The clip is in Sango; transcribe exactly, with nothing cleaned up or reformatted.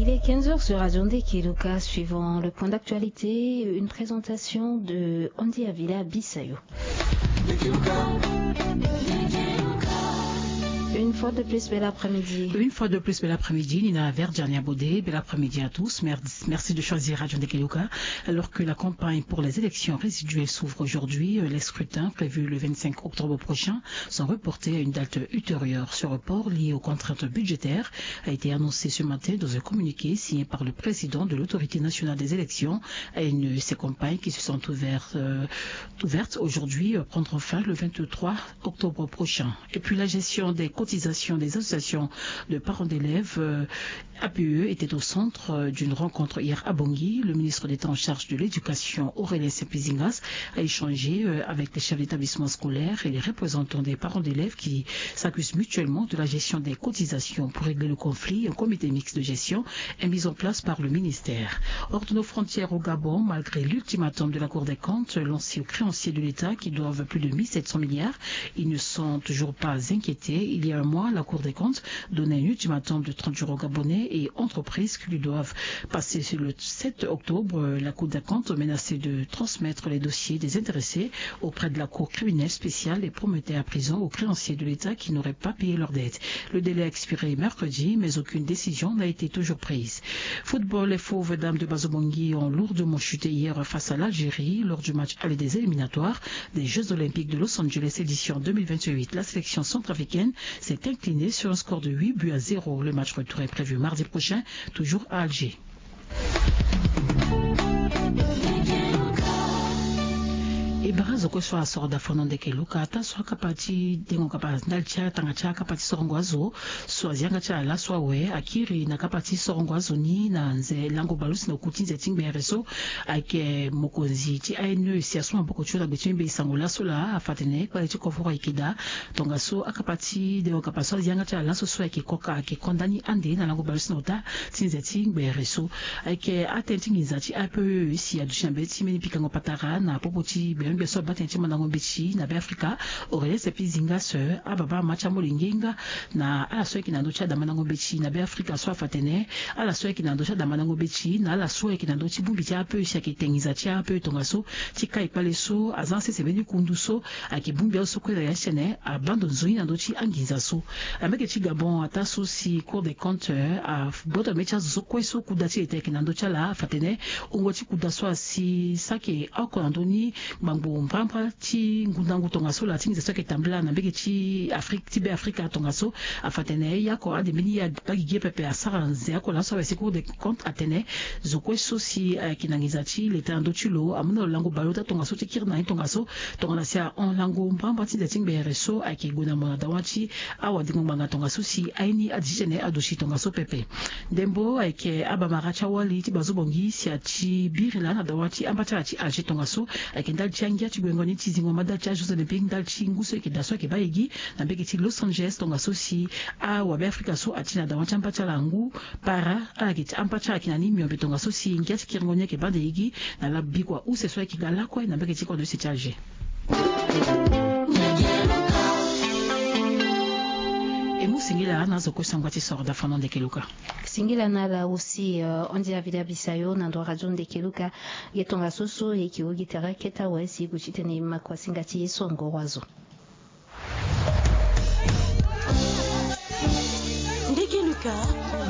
Il est quinze heures sur Radio Ndekeluka. Suivant le point d'actualité, une présentation de Andy Avila Bissayo. Une fois de plus, bel après-midi. Une fois de plus, bel après-midi, Nina Verdiania Bodé. Bel après-midi à tous. Merci de choisir Radio Ndekeluka. Alors que la campagne pour les élections résiduelles s'ouvre aujourd'hui, euh, les scrutins prévus le vingt-cinq octobre prochain sont reportés à une date ultérieure. Ce report, lié aux contraintes budgétaires, a été annoncé ce matin dans un communiqué signé par le président de l'Autorité nationale des élections, A N E. Ces campagnes qui se sont ouvertes, euh, ouvertes aujourd'hui, euh, prendront fin le vingt-trois octobre prochain. Et puis la gestion des cotisations des associations de parents d'élèves, euh, A P E, était au centre, euh, d'une rencontre hier à Bangui. Le ministre d'État en charge de l'éducation, Aurélien Sepizingas, a échangé, euh, avec les chefs d'établissement scolaire et les représentants des parents d'élèves qui s'accusent mutuellement de la gestion des cotisations. Pour régler le conflit, un comité mixte de gestion est mis en place par le ministère. Hors de nos frontières, au Gabon, malgré l'ultimatum de la Cour des comptes lancé aux créanciers de l'État qui doivent plus de mille sept cents milliards, ils ne sont toujours pas inquiétés. Il y a un mois, la Cour des comptes donnait un ultimatum de trente jours aux Gabonais et entreprises qui lui doivent passer le sept octobre. La Cour des comptes menacée de transmettre les dossiers des intéressés auprès de la Cour criminelle spéciale et promettait à prison aux créanciers de l'État qui n'auraient pas payé leurs dettes. Le délai a expiré mercredi, mais aucune décision n'a été toujours prise. Football, les Fauves Dames de Bazo-Bangui ont lourdement chuté hier face à l'Algérie lors du match aller des éliminatoires des Jeux Olympiques de Los Angeles édition deux mille vingt-huit. La sélection centrafricaine s'est inclinée sur un score de huit buts à zéro. Le match retour est prévu mardi prochain, toujours à Alger. E bara zo kue so asoro da fono Ndekeluka, ata so akapa ti dengo kapa ndali ti atanga ti akapa ti sorongo azo so azi yanga ti ala laso awe, akiri na kapa ti sorongo azo ni na nze lango baleuse na oku ti nze ti ngbere so. Ayeke mokonzi ti A N E si asu maboko ti lo na gbe ti mbi sango laso laa, afa atene kpale ti kovoro ayeke daa. Tongaso akapa ti dengo kapa so azi yanga ti ala laso so ayeke koka ayeke ko ndani ande na lango baleuse na ota ti nze ti ngbere so. Ayeke atënë ti nginza ti A P E si aduti na mbeti ti mbeni pikango patara na popo ti bembe so abaa tënë ti mandango mbeti na Beafrika, Aurélien Sepizingas, ababa ama ti amolenge nga na ala so ayeke na ndö ti adamandango mbeti na Beafrika so afa atene ala so ayeke na ndö ti adamandango mbeti na ala so ayeke na ndö ti bongbi ti A P E si ayeke te nginza ti A P E tongaso ti kai kpale so aza na sese mbeni kundu so ayeke bongbi azo so kue na ya ti tene abaa ndo nzoni na ndö ti anginza so. Na mbage ti Gabon, ataa so si Cour des comptes, eh, agboto na mbeti ti azo so kue so kuda ti ete ayeke na ndö ti ala, afa atene wungo ti kuda so asi saki oko na ndö ni ngbangbo mbrambra ti ngundangu tongaso laa ti nginza so ayeke tambula na mbage ti Afrique, ti Beafrika tongaso. Afa atene e ye oko ande mbeni ye abaa gigi pepe asara nze oko laso awe si Cour des comptes atene zo kue so si ayeke na nginza ti leta na ndö ti lo amu na lo lango baleota tongaso ti kiri na ni tongaso. Tongana si ahon lango mbrambra ti nze ti ngbere so ayeke gue na mo na dawa ti awadengo ngbanga tongaso si aye ni adi ti tene aduti tongaso pepe. Ndembo ayeke abamara ti awali ti Bazo-Bangui si ati biri laa na dawa ti amba ti ala ti Alger tongaso. Ayeke ndali ti angia ti guengo ni ti zingo ma ndali ti a-Jeux Olympiques ndali ti ngu so ayeke daa so ayeke baa e gi na mbage ti Los Angeles tongaso si awabeafrika so ati na dawa ti amba ti ala ngu para ala yeke ti amba ti ala yeke na ni miombe tongaso si ngia ti kiringo ni ayeke baa nde e gi na ala bikua use so ayeke ga lakue na mbage ti kodro use ti Alger. E mu singila na azo kue so angba ti soro da fano Ndekeluka. Singila na ala aussi, euh, Andy Avila Bisayo na ndo radio Ndekeluka. Ge tongaso so e yeke wu gi tere akete awe si e gue ti tene e ma kua singa ti e so angoro azo.